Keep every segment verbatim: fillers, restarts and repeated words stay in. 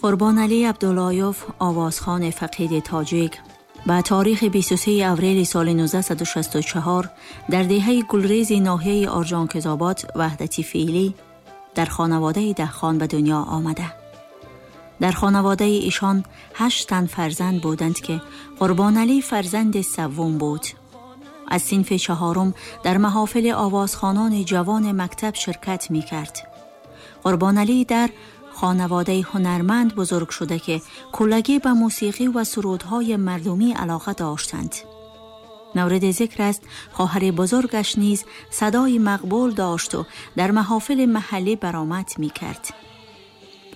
Қурбоналӣ Абдуллоев, овозхони фақиди тоҷик, ба таърихи бисту се апрели соли нуздаҳсаду шасту чаҳор дар деҳаи Гулрези ноҳияи Орҷонкизобод ваҳдати феълӣ дар хонаводаи деҳқон ба дунё омада. Дар хонаводаи ишон ҳашт тан фарзанд буданд ки Қурбоналӣ фарзанди севум буд. Аз синфи чаҳорум дар маҳофили овозхонони ҷавони мактаб ширкат мекард. Қурбоналӣ дар хонаводаи ҳунарманд бузург шуда ки куллагӣ ба мусиқӣ ва сурудҳои мардумӣ алоқа доштанд. мавриди зикр аст, хоҳари бузургаш низ садои мақбул дошту дар маҳофили маҳаллӣ баромад мекард.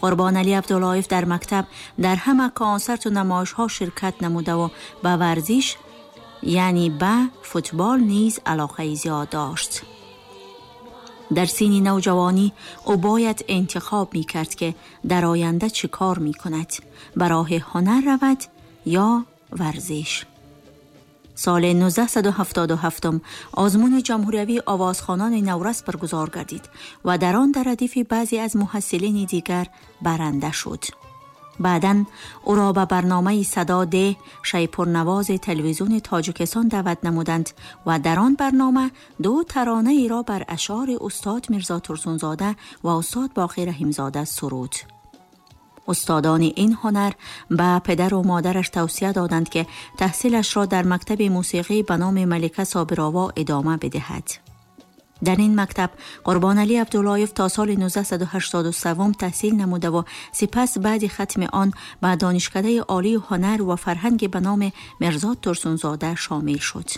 Қурбоналӣ Абдуллоев дар мактаб дар ҳама консерту намоишҳо ширкат намудаву ба варзиш, яъне ба футбол низ алоқаи зиёд дошт. Дар синни навҷавонӣ ӯ бояд интихоб мекард ки дар оянда чӣ кор мекунад, ба роҳи ҳунар равад ё варзиш. Соли нуздаҳсаду ҳафтоду ҳафтум озмуни ҷумҳуриявии овозхонони наврас баргузор гардид ва дар он дар радифи баъзе аз муҳассилини дигар баранда шуд. Баъдан ӯро ба барномаи «Садо деҳ» шайпурнавози телевизиони Тоҷикистон даъват намуданд ва дар он барнома ду таронаеро бар ашъори устод Мирзо Турсунзода ва устод Боқӣ Раҳимзода суруд. Устодони ин ҳунар ба падару модараш тавсия доданд ки таҳсилашро дар мактаби мусиқӣ ба номи Малика Собирова идома бидиҳад. Дар ин мактаб Қурбоналӣ Абдуллоев то соли нуздаҳсаду ҳаштоду севум таҳсил намудаву сипас баъди хатми он ба Донишкадаи олии ҳунар ва фарҳанги ба номи Мирзо Турсунзода шомил шуд.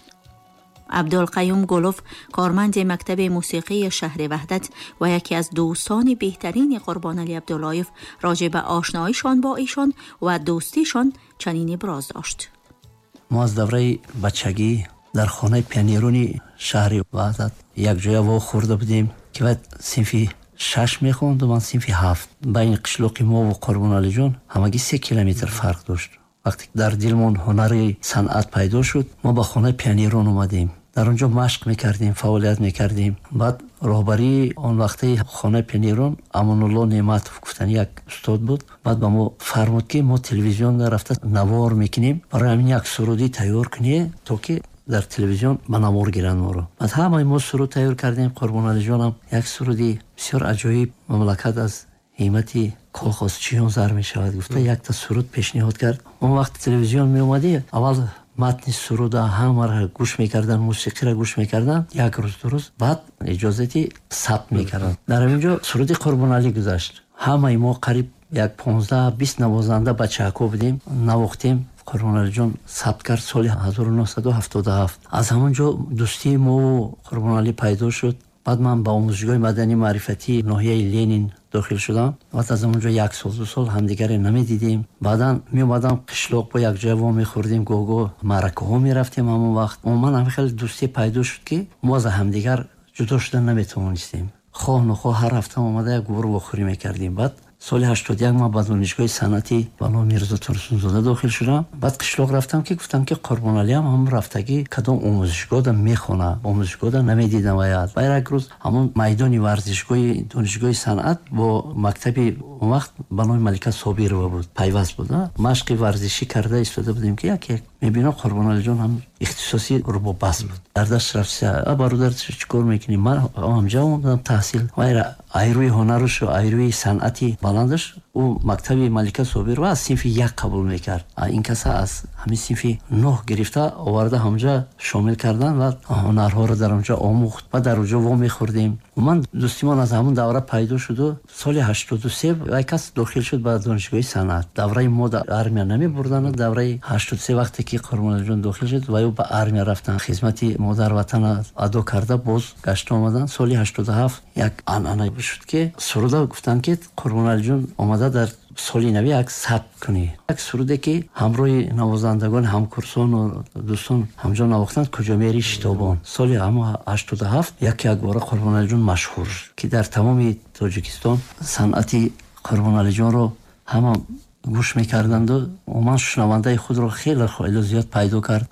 Абдулқаюм Гулов, корманди мактаби мусиқии шаҳри Ваҳдат ва яке аз дӯстони беҳтарини Қурбоналӣ Абдуллоев, роҷеъ ба ошноишон бо эшон ва дӯстишон чунин иброз дошт. Мо аз давраи бачагӣ дар хонаи пионерони шаҳри Ваҳдат якҷоя вохӯрда будем, ки баъд синфи шаш мехонду, ман синфи ҳафт. Байни қишлоқи мову Қурбоналиҷон ҳамагӣ се километр фарқ дошт. Вақте дар дилмон ҳунари санъат пайдо шуд, мо ба хонаи пионерон омадем, дар он ҷо машқ мекардем, фаъолият мекардем. Баъд роҳбарии он вақтаи хонаи пионерон Амонулло Неъматов гуфтани як устод буд. Баъд ба мо фармуд, ки мо телевизион рафта навор мекунем, барои ҳамин як сурудӣ тайёр кунед, то ки дар телевизион ба навор гиранд моро. Баъд ҳамаи мо суруд тайёр кардем. Қурбоналиҷонам як суруди бисёр аҷоиб, «Мамлакат аз ҳиммати колхозчиён зар мешавад» гуфта, якта суруд пешниҳод кард. Он вақт телевизион меомадӣ, аввал матни суруда ҳамаро гӯш мекардан, мусиқиро гӯш мекардан як рӯз, ду рӯз, баъд иҷозати сабт мекарданд. Дар ҳамин ҷо суруди Қурбоналӣ гузашт. Ҳамаи мо қариб як понздаҳ бист навозанда бачаҳако будем, навохтем. Қурбоналиҷон сабт кард соли ҳазору нӯҳсаду ҳафтоду ҳафт. Аз ҳамон ҷо дӯстии мову Қурбоналӣ пайдо шуд. Баъд ман ба омӯзишгоҳи мадании маърифатии ноҳияи Ленин дохил шудам. Баъд аз он ҷо як сол, ду сол ҳамдигаре намедидем. Баъдан меомадам қишлоқ, бо якҷоя во мехӯрдем, гоҳ-гоҳ маъракаҳо мерафтем. Ҳамон вақт умуман ҳамин хеле дӯстӣ пайдо шуд, ки мо аз ҳамдигар ҷудо шуда наметавонистем. Хоҳ нохоҳ ҳар ҳафта омада як гур вохӯрӣ мекардем. Баъд соли ҳаштоду як ман ба донишгоҳи санъатӣ ба номи Мирзо Турсунзода дохил шудам. Баъд қишлоқ рафтам, ки гуфтам, ки Қурбоналиам ҳамон рафтагӣ кадом омӯзишгоҳда мехона, омӯзишгоҳда намедидам. Ваят баъд як рӯз ҳамон майдони варзишгоҳи донишгоҳи санъат бо мактаби он вақт ба номи Малика Собирова буд, пайваст буд, машқи варзишӣ карда истода будем, ки яке мебинам, Қурбоналиҷон ҳам ихтисоси рубоббас буд. Дар даст рафта: «Бародар, чӣ кор мекунӣ?» Ман ҳамҷа омадам таҳсил. Айрӯи ҳунарушу айрӯи санъати баландаш ӯ мактаби Малика Собирова аз синфи як қабул мекард. Ин каса аз ҳамин синфи нӯҳ гирифта оварда, ҳамҷа шомил кардан ва ҳунарҳоро дар онҷо омӯхт ва дар онҷо во мехӯрдем. Умуман дӯстимон аз ҳамон давра пайдо шуду соли ҳаштоду се вай кас дохил шуд ба донишгоҳи санъат. Давраи мо дар армия намебурданд. Давраи ҳаштоду се, вақте ки Қурбоналиҷон дохил шуд, ва ӯ ба армия рафтанд, хизмати модар ватана адо карда, боз гашта омаданд. Соли ҳаштоду ҳафт як анъана шуд, ки суруда гуфтанд, ки Қурбоналиҷон омада дар соли нави як сабт кунӣ, як суруде ки ҳамроҳи навозандагони ҳамкурсону дӯстон ҳамҷо навохтанд, «Куҷо мери шитобон». Соли ҳамо ҳаштоду ҳафт як якбора Қурбоналиҷон машҳур шуд, ки дар тамоми Тоҷикистон санъати Қурбоналиҷонро ҳама гӯш мекарданду умуман шунавандаи худро хеле хеле зиёд пайдо кард.